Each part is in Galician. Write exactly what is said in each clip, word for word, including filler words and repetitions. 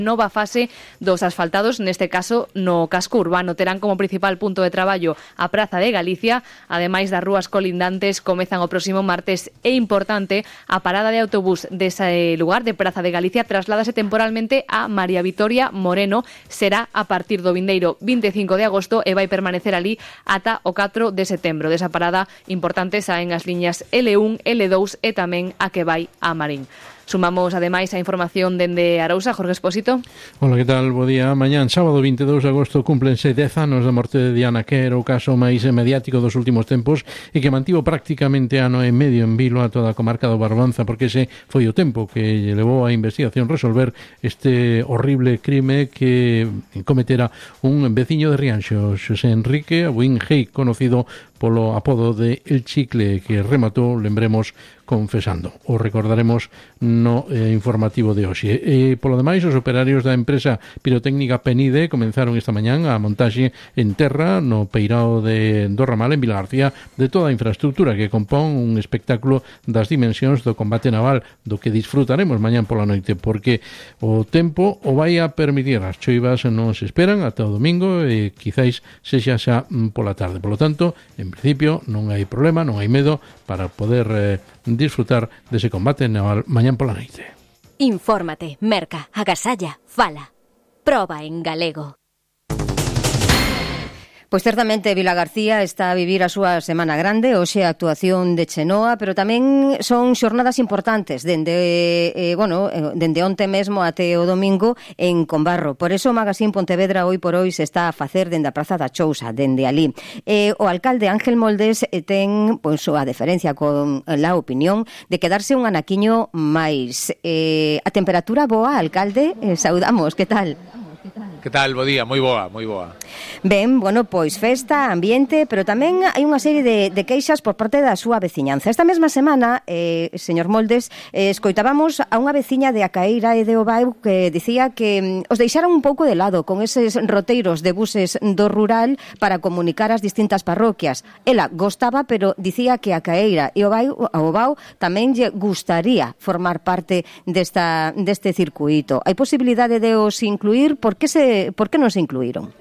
Nova fase dos asfaltados, neste caso no casco urbano. Terán como principal punto de traballo a Praza de Galicia, ademais das rúas colindantes. Comezan o próximo martes e importante, a parada de autobús dese lugar de Praza de Galicia trasládase temporalmente a María Vitoria Moreno. Será a partir do vindeiro vinte e cinco de agosto e vai permanecer ali ata o catro de setembro. Desa parada importante saen as liñas ele un, ele dous e tamén a que vai a Marín. Sumamos, ademais, a información dende Arousa. Jorge Expósito. Hola, que tal? Bo día. Mañán, sábado vinte e dous de agosto, cúmplense dez anos da morte de Diana, que era o caso máis mediático dos últimos tempos e que mantivo prácticamente ano e medio en vilo a toda a comarca do Barbanza, porque ese foi o tempo que lle levou a investigación resolver este horrible crime que cometera un veciño de Rianxo, Xosé Enrique Abuín-Gei, conocido polo apodo de El Chicle, que rematou, lembremos, confesando. O recordaremos no eh, informativo de hoxe. E, polo demais, os operarios da empresa pirotécnica Penide comenzaron esta mañán a montaxe en terra no peirao de do Ramal, en Vilagarcía, de toda a infraestructura que compón un espectáculo das dimensións do combate naval, do que disfrutaremos mañán pola noite, porque o tempo o vai a permitir. As choivas non se esperan ata o domingo e quizáis sexa xa pola tarde. Por lo tanto, en principio non hai problema, non hai medo para poder eh, disfrutar dese combate naval mañán pola noite. Infórmate, merca, agasalla, fala. Proba en galego. Pois certamente Vilagarcía está a vivir a súa semana grande, hoxe a actuación de Chenoa, pero tamén son xornadas importantes dende, eh, bueno, dende onte mesmo até o domingo en Combarro. Por eso o Magazín Pontevedra hoy por hoy se está a facer dende a Praza da Chousa, dende ali. Eh, o alcalde Ángel Moldes eh, ten pois, a deferencia con la opinión de quedarse un anaquiño máis. Eh, a temperatura boa, alcalde, eh, saudamos, que tal? Que tal? Bo día, moi boa, moi boa. Ben, bueno, pois festa, ambiente, pero tamén hai unha serie de, de queixas por parte da súa veciñanza. Esta mesma semana, eh, señor Moldes, eh, escoitábamos a unha veciña de Acaeira e de Obao que dicía que mm, os deixaron un pouco de lado con eses roteiros de buses do rural para comunicar as distintas parroquias. Ela gostaba, pero dicía que Acaeira e Obao, a Obao tamén lle gustaría formar parte desta, deste circuito. Hai posibilidade de os incluir? Por que se por que non se incluíron?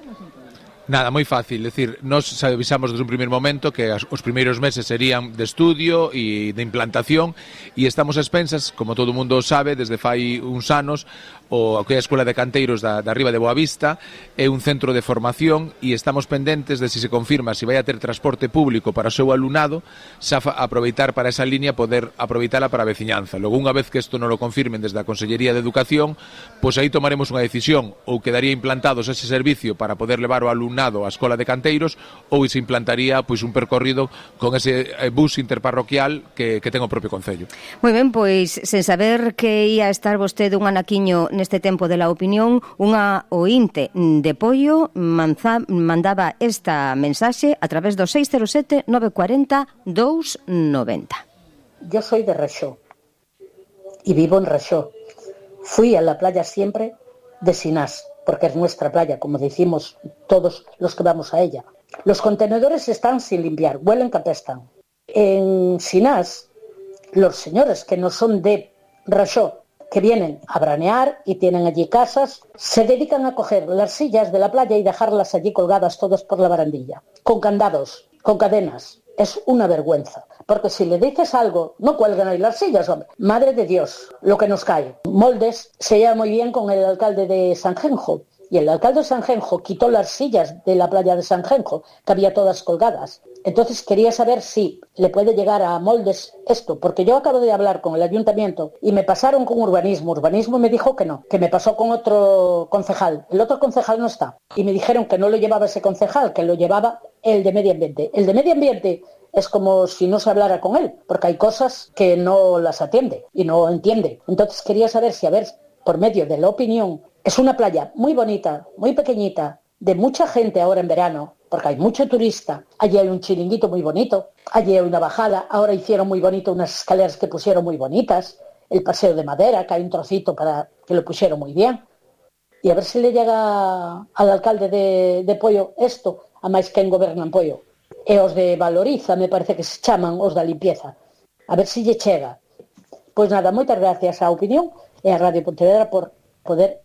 Nada, moi fácil, é dicir, nos avisamos desde un primeiro momento que as, os primeiros meses serían de estudio e de implantación e estamos a expensas, como todo o mundo sabe, desde fai uns anos, o que é a Escola de Canteiros da, da Riba de Boavista é un centro de formación e estamos pendentes de se si se confirma se vai a ter transporte público para o seu alumnado, xa aproveitar para esa línea poder aproveitala para a veciñanza. Logo, unha vez que isto non lo confirmen desde a Consellería de Educación, pois aí tomaremos unha decisión, ou quedaría implantados ese servicio para poder levar o alumnado á Escola de Canteiros, ou se implantaría pois un percorrido con ese bus interparroquial que, que ten o propio Concello. Moi ben, pois sen saber que ia estar vostede un anaquiño neste tempo de la opinión, unha ointe de Pollo manza, mandaba esta mensaxe a través do seis cero sete nove cuatro cero dous nove cero. Yo soy de Rexó y vivo en Rexó. Fui a la playa siempre de Sinás, porque es nuestra playa, como decimos todos los que vamos a ella. Los contenedores están sin limpiar, huelen que apestan. En Sinás, los señores que no son de Rexó, que vienen a branear y tienen allí casas, se dedican a coger las sillas de la playa y dejarlas allí colgadas todas por la barandilla, con candados, con cadenas. Es una vergüenza, porque si le dices algo, no cuelgan ahí las sillas, hombre. Madre de Dios, lo que nos cae. Moldes se lleva muy bien con el alcalde de Sanjenjo, y el alcalde de Sanjenjo quitó las sillas de la playa de Sanjenjo, que había todas colgadas. Entonces quería saber si le puede llegar a Moldes esto, porque yo acabo de hablar con el ayuntamiento y me pasaron con urbanismo. Urbanismo me dijo que no, que me pasó con otro concejal. El otro concejal no está. Y me dijeron que no lo llevaba ese concejal, que lo llevaba el de medio ambiente. El de medio ambiente es como si no se hablara con él, porque hay cosas que no las atiende y no entiende. Entonces quería saber si, a ver, por medio de la opinión, es una playa muy bonita, muy pequeñita, de mucha gente ahora en verano, porque hay mucho turista. Allí hay un chiringuito muy bonito, allí hay una bajada, ahora hicieron muy bonito unas escaleras que pusieron muy bonitas, el paseo de madera, que hay un trocito para que lo pusieron muy bien. Y a ver si le llega al alcalde de, de Pollo esto, a máis quen goberna en Pollo. E os de Valoriza, me parece que se chaman os da limpieza. A ver si lle chega. Pois nada, moitas gracias á opinión e a Radio Pontevedra por poder